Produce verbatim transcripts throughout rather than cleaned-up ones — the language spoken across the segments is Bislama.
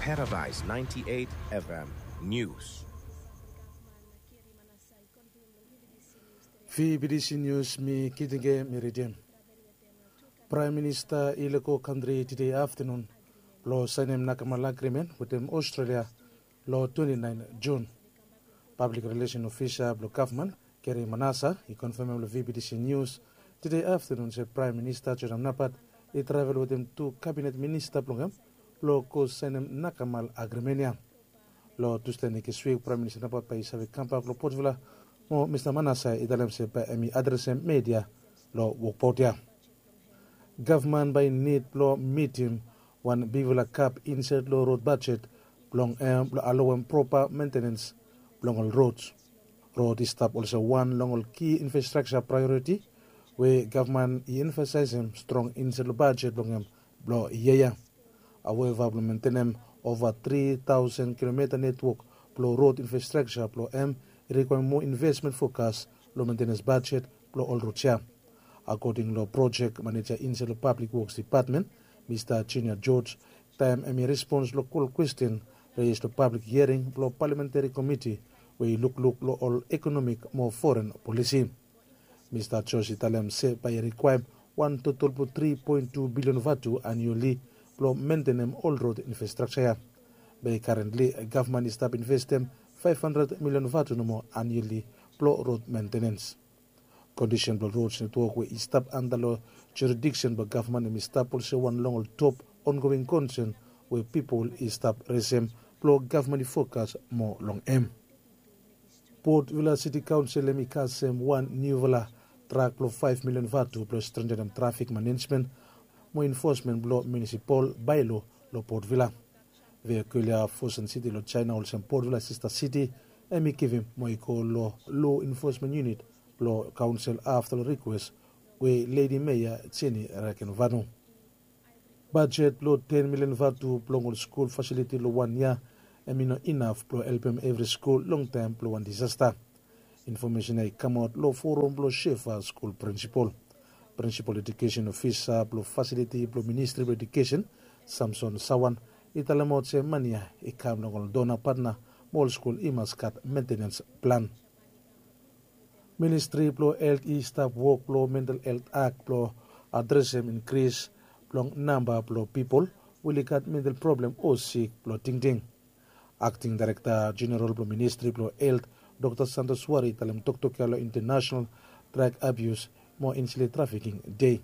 Paradise ninety-eight F M News. V B T C News mi Kitinge mi ridim. Praem Minista i lego kantri tede aftenun blong saenem nakamal agrimen wetem Australia long twenty nine Jun. Pablik rilesen ofisa blong gavman Gary Manasa i konfemem long V B T C News tede aftenun se Praem Minista Jordan Napat i travel wetem tu kabinet minista blong hem blong go saenem nakamal agrimen ya. Long Tusde nekswik Praem Minista Napat bae i save kambak long Port Vila mo Mista Manasa i talem se bae hem i adresem media long wokbaot ya. Gavman bae i nid blong mitim wan bigfala gap insaed long rod bajet blong hem blong alowem propa mentenens blong ol rod. Rod i stap olsem wan long ol ki infrastrakja praeoriti we gavman i emfasaesem strong insaed long bajet blong hem blong yia ya. Haueva blong mentenem ova tri taosen kilometa netwok blong rod infrastrakja blong hem i rikwaem moa invesmen fokas long mentenens bajet blong ol rod ya. Akoding long projek maneja insaed long Pablik Woks Depatmen, Mista Junior George, taem hem i respons long kol kwesten reis long pablik hiering blong palamentari komiti we i lukluk long ol ekonomik mo foren polisi. Mista George i talem se bae i rikwaem wan totol blong tri poen tu bilion vatu anioli blong mentenem ol rod infrastrakja ya. Be karentli gavman i stap investem faef handred milion vatu nomo anioli blong rod mentenens. Kondisen blong rod netwok we i stap anda long juridiksen blong gavman hem i stap olsem wan long ol top ongoing konsen we pipol i stap resem blong gavman i fokas moa long hem. Port Vila Siti Kaonsel hem i kasem wan niufala drak blong faef milion vatu blong strentenem trafik manejmen mo enfosmen blong munisipal baelo long Port Vila. Vehicular Fosun City long Jaena olsem Port Vila Sista Siti hem i givim mo i go long lo enfosmen yunit blong kaonsel afta long rikwes we Ledi Meya Jenny Rakenvanu. Bajet blong ten milion vatu blong ol skul fasiliti long wan yia hem i no inaf blong helpem evri skul long taem blong wan disasta. Infomesen ya i kamaot long forum blong Shefa skul prinsipal. Prinsipal edukesen ofisa blong fasiliti blong Ministri blong Edukesen, Samson Sawan, i talemaot se mane ya i kam long ol dona patna mo ol skul i mas gat mentenens plan. Ministri blong Helt i stap wok long Mental Helt Akt blong adresem inkris blong namba blong pipol we oli gat mental problem o sik blong tingting. Akting Daerekta Jeneral blong Ministri blong Helt, Dokta Santos Wari i talem toktok ya long International Drag Abuse mo Insilei Trafiking Dei.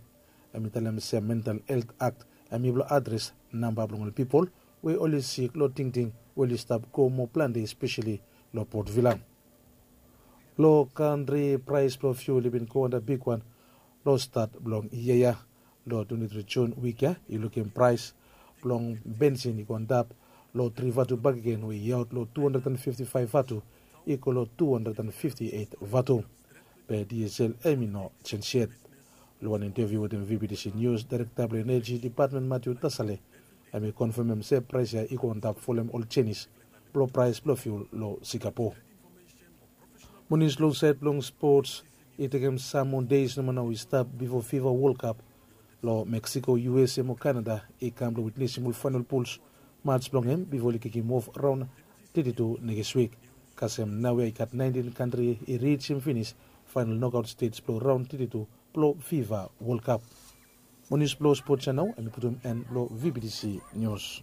Hem i talem se Mental Helt Akt hem i blong adres namba blong ol pipol we oli sik long tingting we oli stap go moa plante espeseli long Port Vila. Long kantri praes blong fiul i bin go antap bigwan long stat blong yia ya. Long twenti tri Jun wik ya i lukim praes blong bensin i go antap long tri vatu bakegen we i aot long tu handred an fifti faef vatu i go long tu handred an fifti eit vatu. Be diesel hem i no jenj yet. Long wan inteviu wetem V B T C Nius, Daerekta blong Eneji Depatmen Matiu Tasale hem i konfemem se praes ya i go antap folem ol jenis blong praes blong fiul long Singapore. Monis long saed blong spots, i tekem sam moa deis nomo nao i stap bifo fifa Wol Kap long Meksiko, U S A mo Kanada i kam blong witnesim ol faenol puls mats blong hem bifo oli kikim of raon teti tu nekis wik. Kasem naoia i gat naentin kantri i risim finis faenol nokaot stej blong raon teti tu blong fifa Wol Kap. Mo nius blong spots ya nao hem i putum en blong V B T C Nius.